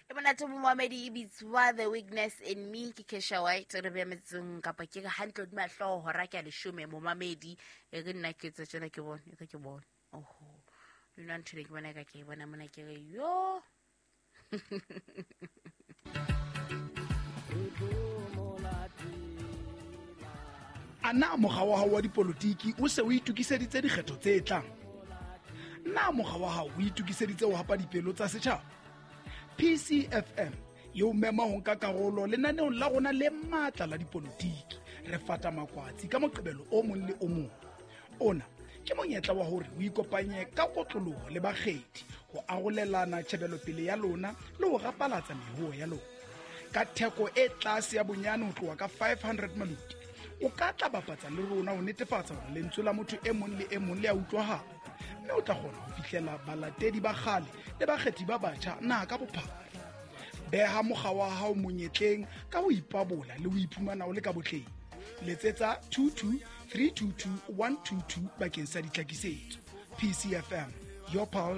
E monate momamedi, e bitswa The Weakness in Me ke Kesha White. Re beya metsong kapa ke re hantle hodima hlooho hora ke ya leshome momamedi. E re nna ke tse tjena ke bone, e re ke bone. Oho, le nna ntho ena ke bona ka ke e bona mona ke re yo. A na mokga wa hao wa dipolotiki o se o itokiseditse dikgetho tse tlang? Na mokga wa hao o itokiseditse ho hapa dipelo tsa setjhaba? PCFM e o mema ho nka karolo lenaneong la rona le matla la dipolotiki. Re fata makwatsi ka Moqebelo o mong le o mong. Ona ke monyetla wa hore o ikopanye ka kotloloho le bakgethi ho arolelana tjhebelopele ya lona le ho rapalatsa mehoo ya lona. Ka theko e tlase ya bonyane ho tloha ka 500 maluti, o ka tla bapatsa le rona ho netefatsa hore lentswe la motho e mong le e mong le a utlwahala, mme o tla kgona ho fihlela balatedi ba kgale le bakgethi ba batjha naha ka bophara. Beha mokga wa hao monyetleng ka ho ipabola le ho iphumana o le ka botleng. Letsetsa 22 322 122 bakeng sa ditlhakisetso. PCFM, your pulse.